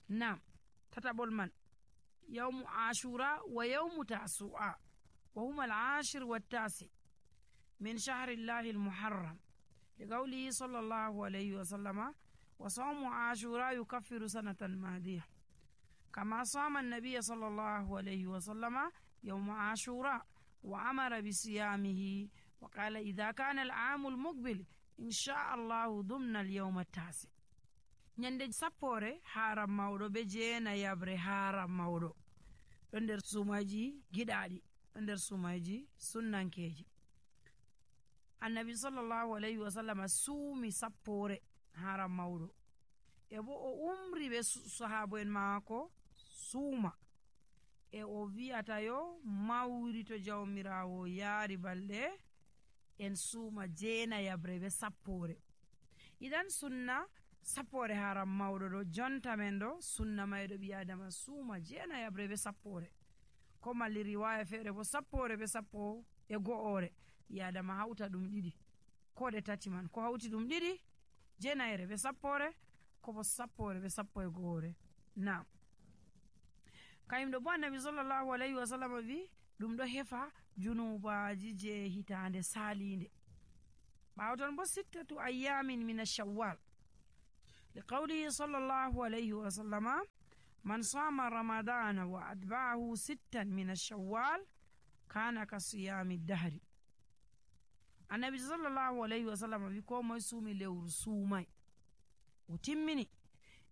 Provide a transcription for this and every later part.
Naam, tataɓol man yawmu ashura wa yawmu tasu'a wa huma al-ashir wat-tasi min shahrillahi al-muharram liqawlihi sallallahu alayhi wa sallama wa sawmu ashura yukaffiru sanatan madiyah kama sama an-nabiy sallallahu alayhi wa sallama yawma ashura wa amara bi siyamihi wa qala idha kana al-'amu al-muqbil insha Allah dumna al-yawma at-tasi. Nyande sappore haram mawɗo be jeena yabre haram mawɗo ɗo nder sumaji giɗaɗi, ɗo nder sumaji sunnankeji. Annabi sallallahu alayhi wa sallam suumi sappore haram mawɗo e bo o umri be sahabo en maako suuma e o wi'ata yo mawri to jawmirawo yaari balɗe en suuma jeena yabre be sappore. Idan sunna sappore haram mawɗo ɗo jonta men ɗo sunna mayɗo ɓi adama suuma jeena yabre be sappore, ko malli riwaya feere bo sappore be sappo e go'ore ɓi adama hawta ɗum ɗiɗi ko ɗe tati man, ko hawti ɗum ɗiɗi jeenayere be sappore ko bo sappore be sappo e go'ore. Naam, kayumɗo bo annabi sallallahu alayhi wa sallam wi ɗum ɗo hefa junubaji je hitande salinde. ɓawton bo sittatu ayyamin min ash-shawwal liqawlihi sallallahu alayhi wa sallama man sama ramadana wa atba'ahu sittan min ash-shawwal kana ka siyami dahri. Annabi sallallahu alayhi wa sallam wi ko moy suumi lewru suumay o timmini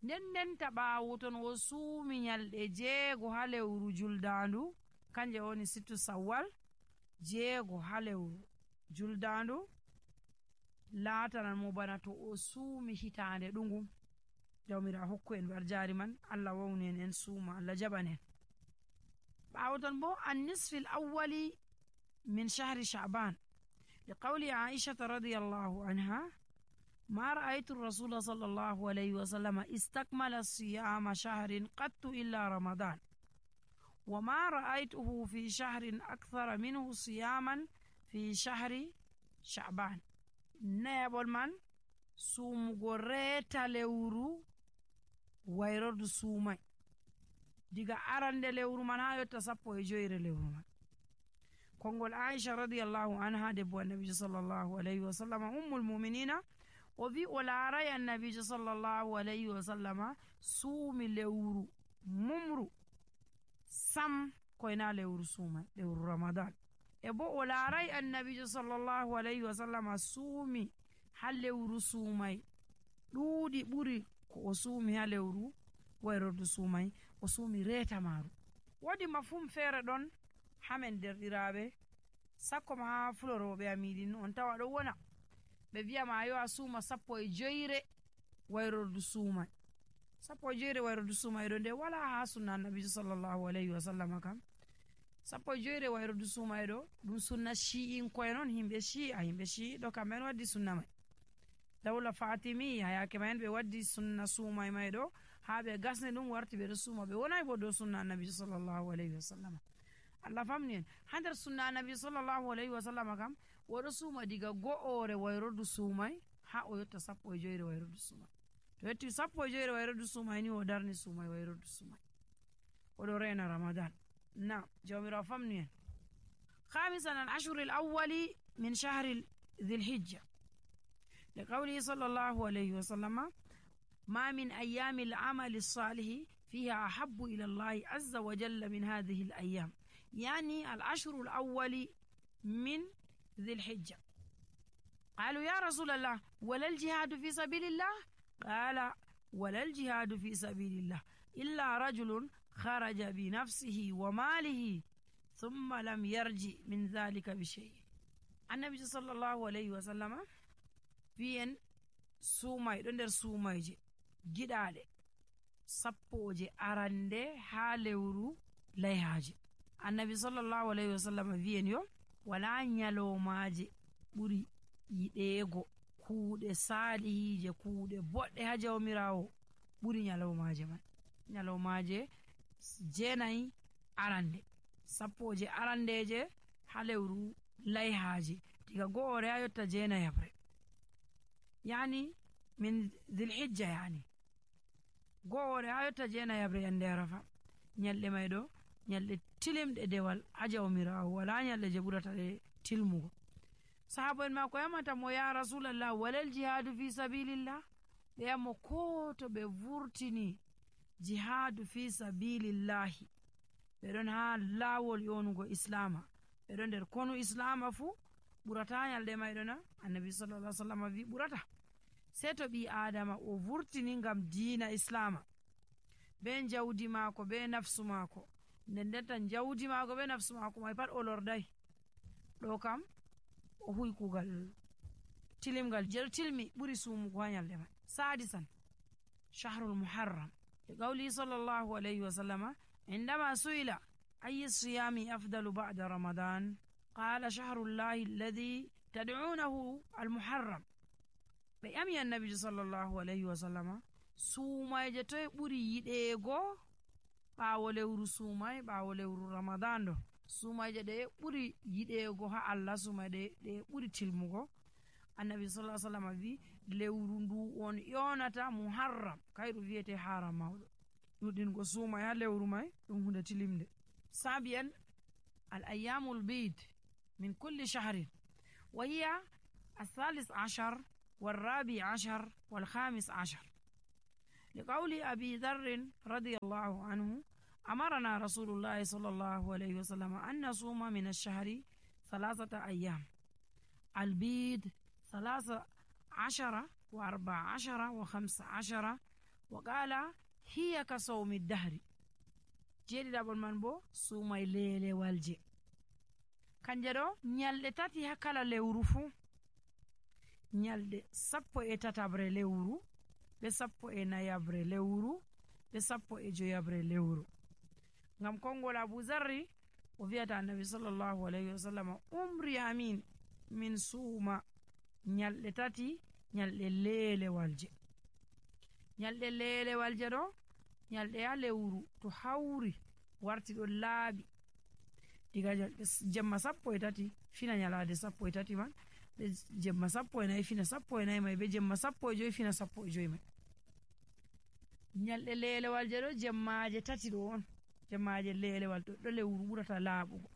nden taɓawo ton o suumi nyalɗe 6 ha lewru juldandu kanje woni sittu sawwal 6 ha lewru juldandu laatanan mo bana to o suumi hitande ɗungum. Jawmira hokku en barjari man, Allah wawni en suuma, Allah jaɓan en. ɓawton bo an-nisfi al-awwali min shahri sha'ban liqawli Aisha radiyallahu anha ma ra'aytu ar-rasula sallallahu alayhi wa sallam istakmala siyama shahrin qattu illa ramadan wa ma ra'aytuhu fi shahrin akthara minhu siyaman fi shahri sha'ban. Neɓol man suumugo reeta lewru wayrordu suumay diga arande lewru man ha yotta 15 lewru man. Kongol Aisha radiyallahu anha debbo annabijo sallallahu alayhi wa sallam ummul mu'minina o wi o laaray annabijo sallallahu alayhi wa sallama suumi lewru mumru sam koyna lewru suumay, lewru ramadan. E bo o laaray annabijo sallallahu alayhi wa sallama suumi ha lewru suumay ɗuuɗi ɓuri ko o suumi ha lewru wayrordu suumay, o suumi reeta maaru. Wodi mafhum feere ɗon hamen derɗiraaɓe sakko ma ha fuloroɓe amiɗin on tawa ɗo wona ɓe wiyama yo a suuma 15 wayrordu suumay. 15 wayrordu suumay ɗo nde wala ha sunna annabijo sallallahu alayhi wa sallama kam. 15 wayrordu suumay ɗo ɗum sunna shi'in koye noon himɓe shi'i ɗo kamɓen waddi sunna may. dawla fatimi hayake men ɓe waddi sunna suumay may ɗo ha ɓe gasne ɗum warti ɓeɗo suuma, ɓe wonay bo dow sunna annabi sallallahu alayhi wa sallam. Allah famni en ha nder sunna annabi sallallahu alayhi wa sallam kam oɗo suuma diga go'ore wayrordu suumay ha o yotta 15 wayrordu suumay. To yetti 15 wayrordu suumay ni o darni suumay wayrordu suumay, oɗo rena ramadan. Naam, jawmirawo famni en. Khamisan al-ashhur al-awwali min shahr dhil-hijja liqawlihi sallallahu alayhi wa sallam ma min ayyami al-amali as-salih fiha ahabbu ila Allah azza wa jalla min hadhihi al-ayyam, yani al-ashhur al-awwali min dhil-hijja. قالوا يا رسول الله ولا الجهاد في سبيل الله؟ قال ولا الجهاد في سبيل الله إلا رجل خرج بنفسه وماله ثم لم يرجع من ذلك بشيء. النبي صلى الله عليه وسلم fiyen suumay ɗo nder suumayje giɗaɗe sappoje arande ha lewru layhaje. Annabi sallallahu alayhi wa sallam wiyen yo wala nyalomaje ɓuri yiɗeego kuuɗe salihije kuuɗe boɗɗe ha jawmirawo ɓuri nyalomaje man. Nyalomaje 9 arande, sappoje arandeje ha lewru layhaje diga go'ore ha yotta 9 yani min dhil hijja, yani woore ha yotta jeenayabre yande arafa nyalɗe may ɗo nyalɗe tilimɗe dewal ha jawmirawo wala nyalɗe je ɓurata ɗe tilmugo. Sahaba en mako yamata mo ya rasulallah walal jihadu fi sabilillah, ɓe yammo ko to ɓe vurtini jihadu fi sabilillahi ɓe ɗon ha lawol yonugo islama, ɓe ɗon nder konu islama fuu ɓurata nyalɗe mayɗo na? Annabi sallallahu alaihi wasallam wi ɓurata. Sei to ɓi adama o vurtini ngam diina islama be jawdi maako be nafsu maako, nden denta jawdi maako be nafsu maako may pat o lordai, ɗo kam o huwi kugal tilimgal je tilmi ɓuri sumugo ha nyalɗe may. Sadisan shahrul muharram liqawli sallallahu alayhi wa sallama indama su'ila ayyi siyami afdalu ba'da ramadan qala shahrullahi alladhi tad'unahu almuharram. ɓe ƴami annabijo sallallahu alayhi wa sallama sumayje toye ɓuri yiɗeego ɓaawo lewru sumay ɓaawo lewru ramadan ɗo, sumayje ɗe ɓuri yiɗeego ha Allah, sumayje ɗe ɓuri tilmugo. Annabi sallallahu alaihi wasallam wi lewru ndu on yonata muharram, kayru wiyete haram mawɗo. ɗuɗingo sumay ha lewru may ɗum hunde tilimde. Sabiyan al ayyamul bid min kulli shahrin wa hiya الثالث عشر والرابع عشر والخامس عشر لقول أبي ذر رضي الله عنه أمرنا رسول الله صلى الله عليه وسلم أن نصوم من الشهر 3 أيام البيد 13 و14 و15 وقال هي كصوم الدهر. jeeɗi ɗaɓol man bo suumay leelewal je kanje ɗo nyalɗe tati ha kala lewru fuu, nyalɗe 13 lewru ɓe 14 lewru ɓe 15 lewru. ngam kongol Abu Zarri o wiyata annabi sallallahu alayhi wa sallam umri amin min suuma nyalɗe tati nyalɗe leelewal je. nyalɗe leelewal je ɗo nyalɗe ha lewru to hawri warti ɗo laaɓi diga jemma 13 fina nyalade 13 man, be jemma 14 fina 14 may, be jemma 15 fina 15 may. nyalɗe leelewal je ɗo jemmaje tati ɗo on, jemmaje leelewal ɗo lewru ɓurata laaɓugo.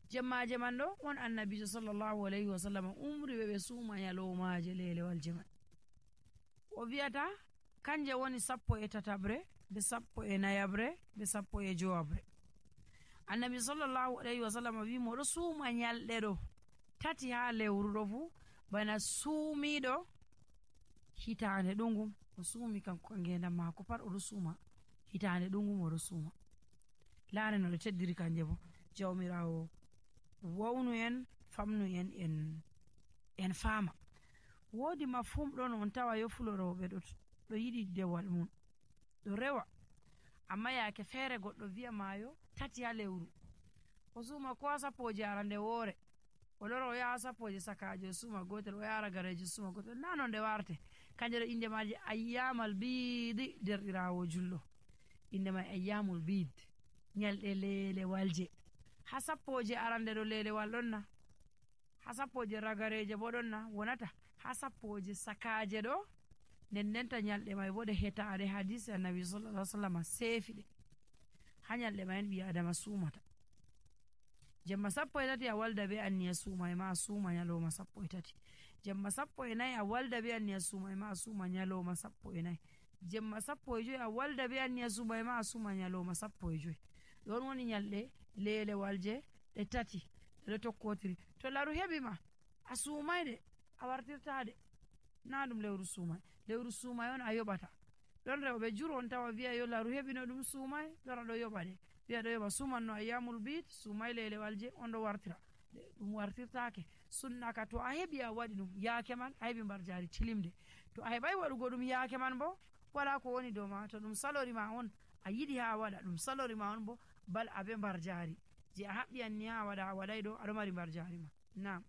jemmaje man ɗo on annabijo sallallahu alayhi wa sallam umri ɓe suuma nyalomaje leelewal je man. o wiyata kanje woni 13 be 14 be 15. annabi sallallahu alayhi wa sallam wi moɗo suuma nyalɗe ɗo tati ha lewru ɗo fuu bana suumiɗo hitande ɗungum o suumi kanko ngendam maako pat oɗo suuma hitande ɗungum oɗo suuma. laare no ɗo teddiri kanje bo jawmirawo wawnu en famnu en faama. woodi mafhum ɗon on tawa yo fuloroɓe ɗo yiɗi dewal mum ɗo rewa, amma yaake feere goɗɗo wiya maayo tati ha lewru o suuma ko ha 10 arande woore, o lora o yaha 10 sakaje o suuma gotel, o yara gareji suuma gotel, na non nde warte. kanje ɗo inde maje ayyamal biidi derɗirawo julɗo, inde may ayyamul bid, nyalɗe leelewal je. ha 10 arande ɗo leelewal ɗon na, ha 10 ragareje bo ɗon na, wonata ha 10 sakaje ɗo nden ndenta nyalɗe may bo ɗe hetaɗe hadisi annabi sallallahu alaihi wasallam seefiɗe ha nyalɗe mayen ɓi adama suumata. jemma 13 a walda be anniya suuma ma a suuma nyaloma 13, jemma 14 a walda be anniya suuma ma a suuma nyaloma 14, jemma 15 a walda be anniya suuma ma a suuma nyaloma 15. ɗon woni nyalɗe leelewal je ɗe tati ɗeɗo tokkotiri. to laru heɓi ma a suumayde a wartirtade, na ɗum lewru suumay. lewru suumay on a yoɓata. ɗon rewɓe jur on tawa wiya yo laru heɓino ɗum suumay lora ɗo yoɓa de, wiya ɗo yoɓa sumanno ayyamul bid suumay leelewal je on ɗo wartira, ɗum wartirtake. sunnaka to a heɓi a waɗi ɗum yaake man a heɓi mbar jari tilimde, to a heɓay waɗugo ɗum yaake man bo wala ko woni dow ma. to ɗum salori ma on a yiɗi ha waɗa ɗum salori ma on bo bal abe mbar jari je a haɓɓi anni ha waɗa a waɗay ɗo aɗo mari mbar jari ma. Nam.